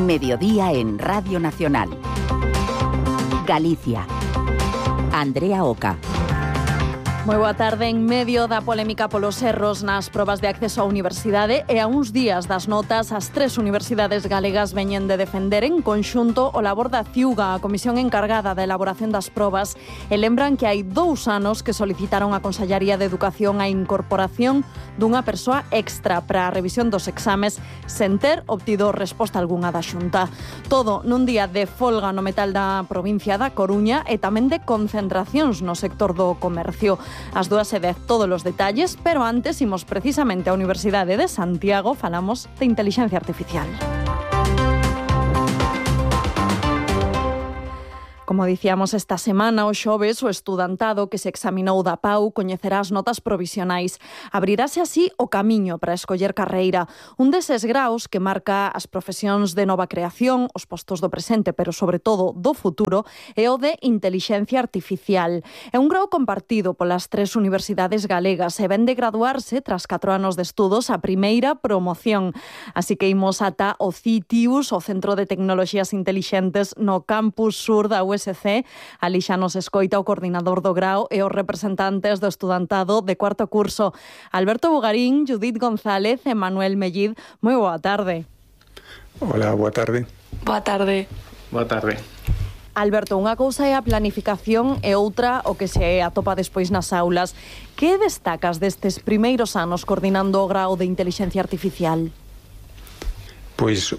Mediodía en Radio Nacional. Galicia. Andrea Oca. Moi boa tarde. En medio da polémica polos erros nas probas de acceso á universidade e a uns días das notas, as tres universidades galegas veñen de defender en conxunto o labor da CIUGA, a comisión encargada da elaboración das probas, e lembran que hai 2 anos que solicitaron a Consellaría de Educación a incorporación dunha persoa extra para a revisión dos exames sen ter obtido resposta algunha da Xunta. Todo nun día de folga no metal da provincia da Coruña e tamén de concentracións no sector do comercio. As 2:10 todos os detalles, pero antes imos precisamente á Universidade de Santiago, falamos de inteligencia artificial. Como dicíamos esta semana, o xoves, o estudantado que se examinou da PAU coñecerá as notas provisionais. Abrirase así o camiño para escoller carreira. Un deses graos que marca as profesións de nova creación, os postos do presente, pero sobre todo do futuro, é o de Intelixencia Artificial. É un grao compartido polas tres universidades galegas e ven de graduarse tras 4 anos de estudos a primeira promoción. Así que imos ata o CITIUS, o Centro de Tecnoloxías Intelixentes no campus sur da USC. Ali xa nos escoita o coordinador do grao e os representantes do estudantado de cuarto curso. Alberto Bugarín, Judith González e Manuel Mellid. Moi boa tarde. Hola, boa tarde. Boa tarde. Boa tarde. Alberto, unha cousa é a planificación e outra o que se atopa despois nas aulas. Que destacas destes primeiros anos coordinando o grao de Intelixencia Artificial? Pois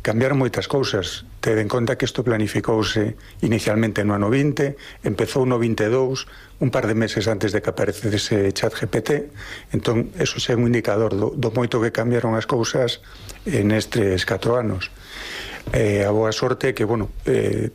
cambiaron moitas cousas. Ted en conta que isto planificouse inicialmente no ano 20, empezou no 22, un par de meses antes de que aparecese ChatGPT. Entón, eso é un indicador do moito que cambiaron as cousas nestes 4 anos. A boa sorte que,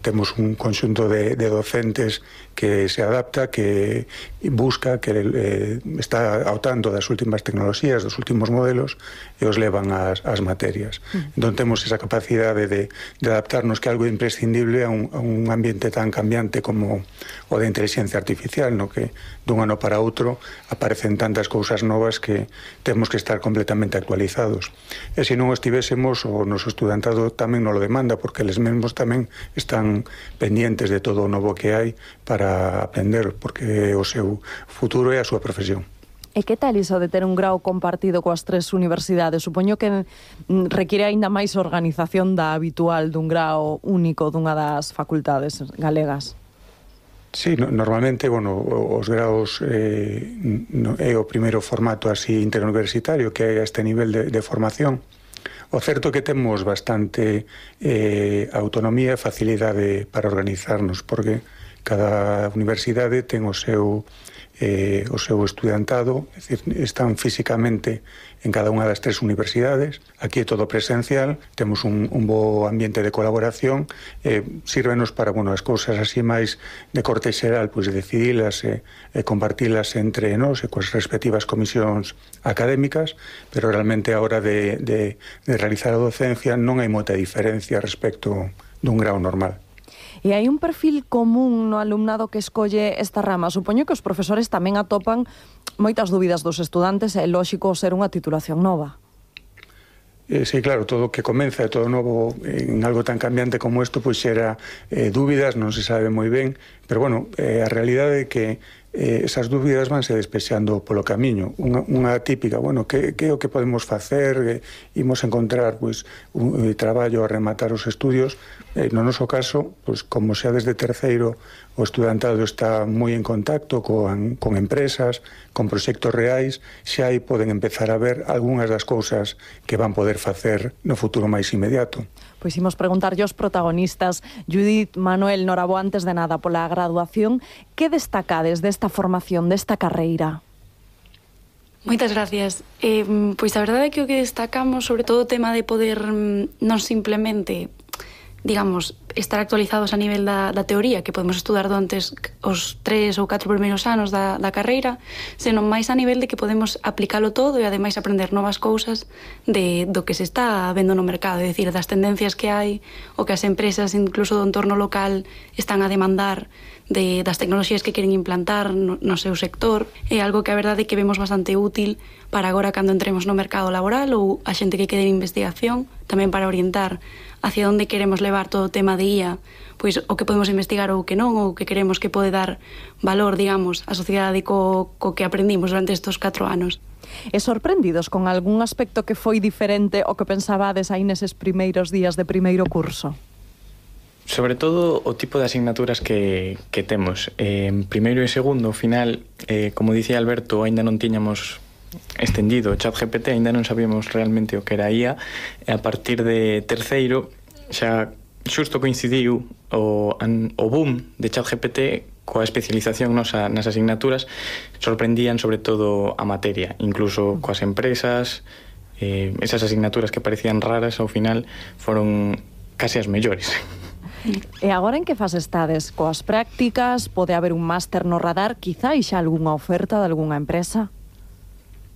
temos un conxunto de docentes que se adapta, que busca, que está ao tanto das últimas tecnoloxías, dos últimos modelos, e os levan ás materias. Entón temos esa capacidade de adaptarnos, que é algo imprescindible a un ambiente tan cambiante como o de inteligencia artificial, no que dun ano para outro aparecen tantas cousas novas que temos que estar completamente actualizados. E se non estivésemos, o noso estudantado tamén non lo demanda, porque eles mesmos tamén están pendientes de todo o novo que hai para aprender, porque o seu futuro é a súa profesión. E que tal iso de ter un grao compartido coas tres universidades? Supoño que require aínda máis organización da habitual dun grao único dunha das facultades galegas. Sí, normalmente, os graos é o primeiro formato así interuniversitario que hai a este nivel de formación. O certo é que temos bastante autonomía e facilidade para organizarnos, porque cada universidade ten o seu estudantado, é dicir, están físicamente en cada unha das tres universidades. Aquí é todo presencial, temos un bo ambiente de colaboración, sírvenos para, as cousas así máis de corte xeral, pois decidilas e compartilas entre nós e coas respectivas comisións académicas, pero realmente a hora de realizar a docencia non hai moita diferencia respecto dun grao normal. E hai un perfil común no alumnado que escolle esta rama. Supoño que os profesores tamén atopan moitas dúbidas dos estudantes e é lóxico ser unha titulación nova. Sí, claro, todo o que comeza e todo novo en algo tan cambiante como isto, pois xera dúbidas, non se sabe moi ben, pero a realidade é que esas dúbidas vanse despexando polo camiño. Unha típica, que é o que podemos facer? Imos encontrar un traballo a rematar os estudios. No noso caso, como xa desde terceiro o estudantado está moi en contacto con empresas, con proxectos reais, xa aí poden empezar a ver algunhas das cousas que van poder facer no futuro máis inmediato. Pois imos preguntarlle aos protagonistas. Judith, Manuel, Noraboa, antes de nada, pola graduación, que destacades desta formación, desta carreira? Moitas gracias. Pois a verdade é que o que destacamos, sobre todo o tema de poder non simplemente, estar actualizados a nivel da teoría que podemos estudar durante os 3 ou 4 primeiros anos da carreira, senón máis a nivel de que podemos aplicalo todo e ademais aprender novas cousas do que se está vendo no mercado, é dicir, das tendencias que hai, o que as empresas incluso do entorno local están a demandar das tecnoloxías que queren implantar no seu sector. É algo que a verdade é que vemos bastante útil para agora cando entremos no mercado laboral ou a xente que quede en investigación tamén para orientar hacia onde queremos levar todo o tema de IA, pois o que podemos investigar ou o que non, ou o que queremos que pode dar valor, digamos, á sociedade co que aprendimos durante estes 4 anos. E sorprendidos con algún aspecto que foi diferente ao que pensabades aí neses primeiros días de primeiro curso? Sobre todo o tipo de asignaturas que temos. Primeiro e segundo, ao final, como dicía Alberto, ainda non tiñamos estendido o ChatGPT, ainda non sabíamos realmente o que era IA, e a partir de terceiro xa xusto coincidiu o boom de ChatGPT coa especialización nas asignaturas. Sorprendían sobre todo a materia, incluso coas empresas. Esas asignaturas que parecían raras ao final foron case as mellores. E agora en que fase estades? Coas prácticas? Pode haber un máster no radar? Quizá xa algunha oferta de algunha empresa?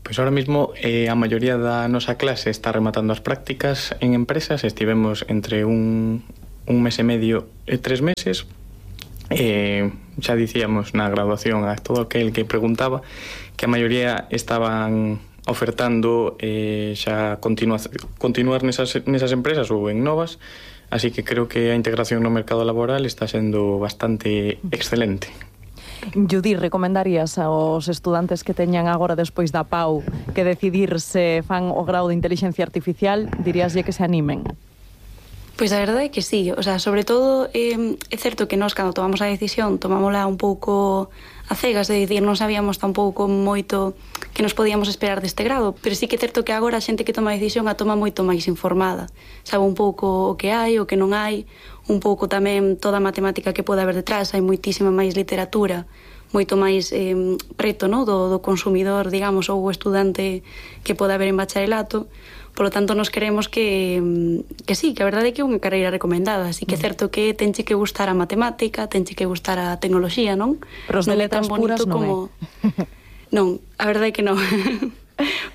Pois ahora mesmo a maioría da nosa clase está rematando as prácticas en empresas. Estivemos entre un mes e medio e 3 meses. Xa dicíamos na graduación a todo aquel que preguntaba que a maioría estaban ofertando xa continuar nesas empresas ou en novas. Así que creo que a integración no mercado laboral está sendo bastante excelente. Judí, recomendarías aos estudantes que teñan agora despois da PAU que decidir se fan o grau de Inteligencia Artificial, diríaslle que se animen? Pois a verdade é que sí, o sea, sobre todo é certo que nós cando tomamos a decisión tomámola un pouco a cegas, de dicir, non sabíamos tampouco moito que nos podíamos esperar deste grado, pero sí que é certo que agora a xente que toma a decisión a toma moito máis informada, sabe un pouco o que hai, o que non hai, un pouco tamén toda a matemática que pode haber detrás, hai moitísima máis literatura, moito máis preto, no, do consumidor, digamos, ou o estudante que pode haber en bacharelato. Por lo tanto, nos queremos que sí, que a verdade é que é unha carreira recomendada. Así que é certo que tenche que gustar a matemática, tenche que gustar a tecnoloxía, non? Pero os de letras puras non é. Non, a verdade é que non.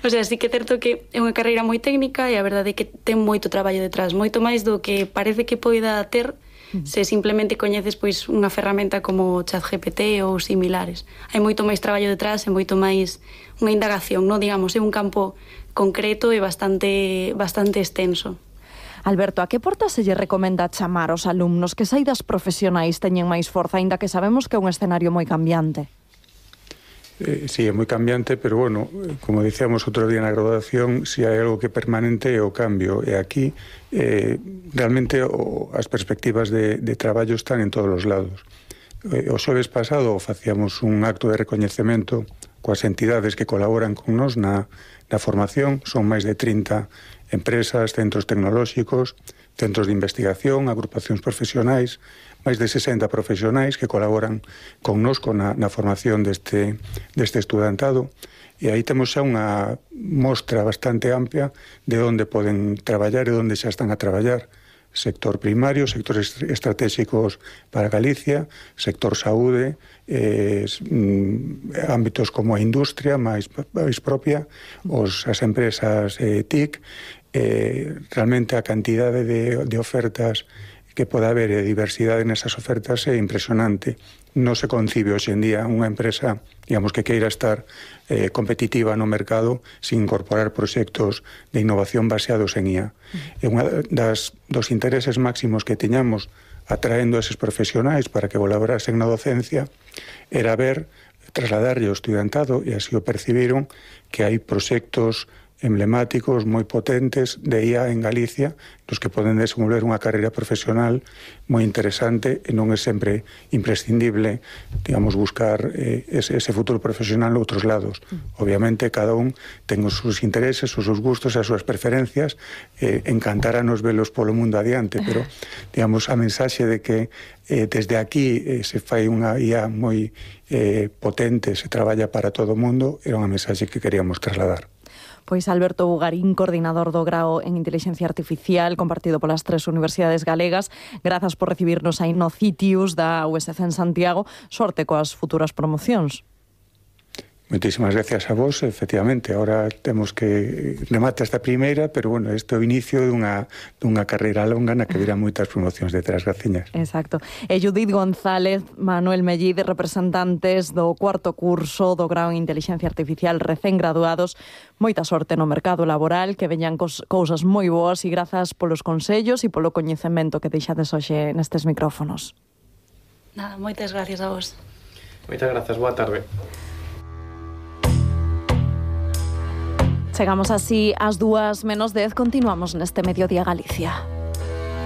O sea, sí que é certo que é unha carreira moi técnica e a verdade é que ten moito traballo detrás, moito máis do que parece que poida ter se simplemente coñeces pois unha ferramenta como ChatGPT ou similares. Hai moito máis traballo detrás e moito máis unha indagación, non, digamos, é un campo concreto e bastante extenso. Alberto, a que porta se lle recomenda chamar aos alumnos? Que saídas profesionais teñen máis forza, aínda que sabemos que é un escenario moi cambiante? Sí, é moi cambiante, pero bueno, como dicíamos outro día na graduación, si hai algo que é permanente é o cambio, e aquí realmente as perspectivas de traballo están en todos os lados. O xoves pasado facíamos un acto de recoñecemento coas entidades que colaboran con nos na formación. Son máis de 30 empresas, centros tecnolóxicos, centros de investigación, agrupacións profesionais, máis de 60 profesionais que colaboran connosco na formación deste estudantado. E aí temos xa unha mostra bastante amplia de onde poden traballar e onde xa están a traballar. Sector primario, sectores estratégicos para Galicia, sector saúde, ámbitos como a industria máis propia, as empresas TIC, realmente a cantidade de ofertas que pode haber e diversidade nesas ofertas é impresionante. Non se concibe hoxe en día unha empresa, digamos, que queira estar competitiva no mercado sin incorporar proxectos de innovación baseados en IA. E unha dos intereses máximos que teñamos atraendo a eses profesionais para que colaborasen na docencia era ver, trasladarlle ao estudantado, e así o percibiron, que hai proxectos emblemáticos moi potentes de IA en Galicia, nos que poden desenvolver unha carreira profesional moi interesante, e non é sempre imprescindible, digamos, buscar ese futuro profesional noutros lados. Obviamente, cada un ten os seus intereses, os seus gustos e as súas preferencias, encantáranos velos polo mundo adiante, pero, digamos, a mensaxe de que desde aquí se fai unha IA moi potente, se traballa para todo o mundo, era unha mensaxe que queríamos trasladar. Pois Alberto Bugarín, coordinador do grao en Inteligencia Artificial, compartido polas 3 universidades galegas. Grazas por recibirnos aí no Citius da USC en Santiago. Sorte coas futuras promocións. Moitísimas gracias a vos, efectivamente. Ahora temos que remate esta primeira, pero bueno, este é o inicio dunha carreira longa na que virán moitas promocións detrás, graciñas. Exacto. E Judith González, Manuel Mellide, representantes do cuarto curso do grao en Inteligencia Artificial recén graduados. Moita sorte no mercado laboral, que veñan cousas moi boas e grazas polos consellos e polo coñecemento que deixades hoxe nestes micrófonos. Nada, moitas gracias a vos. Moitas grazas, boa tarde. Chegamos así ás 2:10, continuamos neste Mediodía Galicia.